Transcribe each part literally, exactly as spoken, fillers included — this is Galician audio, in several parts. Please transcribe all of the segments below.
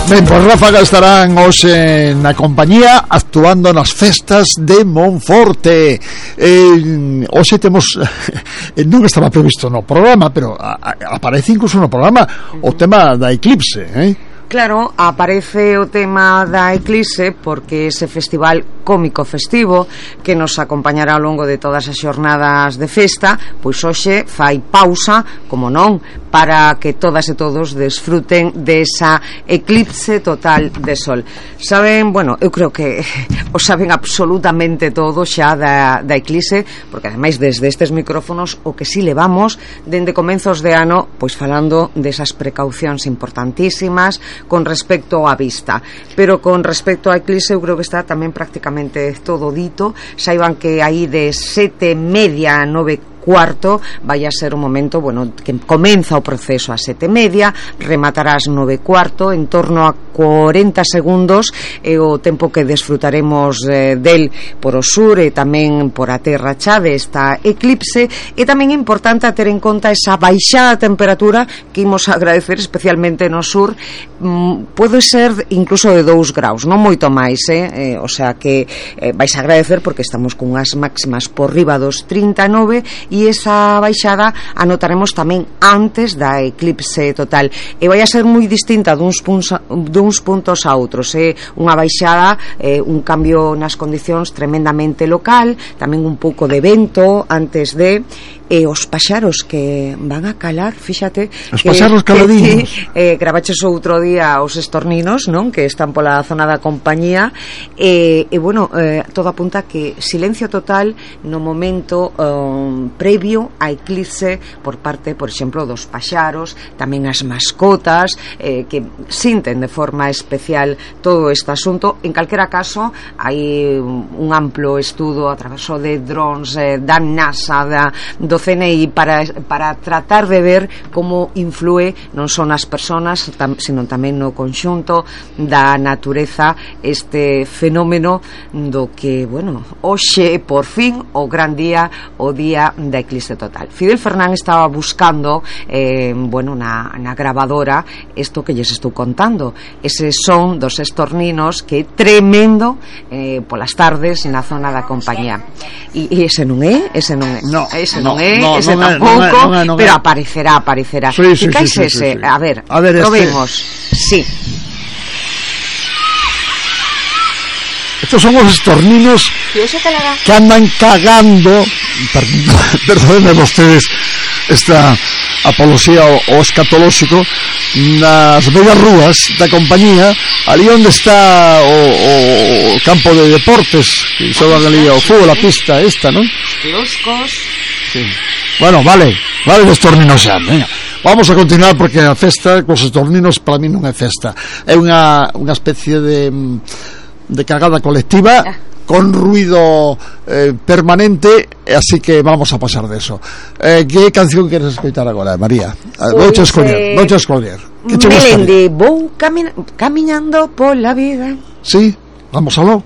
Ben, pois Ráfaga estarán hoxe na compañía actuando nas festas de Monforte. Eh, hoxe temos non estaba previsto no programa, pero a, a, aparece incluso no programa o tema da eclipse, eh? Claro, aparece o tema da Eclipse porque ese festival cómico festivo que nos acompañará ao longo de todas as xornadas de festa, pois hoxe fai pausa, como non, para que todas e todos desfruten desa eclipse total de sol. Saben, bueno, eu creo que o saben absolutamente todo xa da, da eclipse, porque ademais desde estes micrófonos o que si levamos dende comenzos de ano, pois falando desas precaucións importantísimas con respecto á vista, pero con respecto á eclipse eu creo que está tamén prácticamente todo dito. Saiban que aí de sete media a nove cuarto vai a ser un momento, bueno, que comeza o proceso a sete media, rematará ás nove cuarto, en torno a cuarenta segundos é o tempo que desfrutaremos eh, del por o sur e tamén por a terra xa desta eclipse. E tamén é importante a ter en conta esa baixada temperatura que imos agradecer especialmente no sur, mm, pode ser incluso de dous graus, non moito máis, eh? eh o sea que eh, vais a agradecer porque estamos con unhas máximas por riba dos trinta e nove e esa baixada anotaremos tamén antes da eclipse total e vai a ser moi distinta duns puntos a, duns puntos a outros, é eh? unha baixada, eh, un cambio nas condicións tremendamente local, tamén un pouco de vento antes de e os paxaros que van a calar, fíxate, os paxaros caladinos. Eh, gravaches outro día os estorninos, non? Que están pola zona da compañía e, e bueno, eh, todo apunta que silencio total no momento um, previo a eclipse por parte, por exemplo, dos paxaros, tamén as mascotas eh, que sinten de forma especial todo este asunto. En calquera caso hai un amplo estudo a través de drones eh, da NASA, da, do C N I para, para tratar de ver como influe non son as persoas tam, sino tamén no conxunto da natureza este fenómeno do que, bueno, hoxe por fin o gran día, o día da eclipse total. Fidel Fernán estaba buscando eh, bueno, na, na grabadora isto que lles estou contando, ese son dos estorninos que é tremendo eh, polas tardes na zona da compañía e, e ese non é ese non é, no, ese no. non é No, ese non tampouco, é, non é, non é. pero aparecerá, aparecerá. Sí, sí, que cais sí, sí, ese? sí, sí. A ver, a ver probemos. Este... Sí. Estos son os estorninos que andan cagando, perdónenme vostedes esta apología o, o escatolóxico, nas bellas rúas da compañía, ali onde está o, o campo de deportes, que xogan ali o fútbol, a pista esta, non? Loscos. Sí. Bueno, vale, vale de estorninos xa, venga. Vamos a continuar porque a festa cos estorninos para mí non é festa, é unha, unha especie de de cagada colectiva con ruido eh, permanente, así que vamos a pasar de eso. Eh, que canción queres escoitar agora, María? Vouche escoller, vouche escoller. Que che Melendi, vou camina, camiñando pola vida. Sí, vamos aló.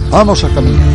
Vamos a caminar.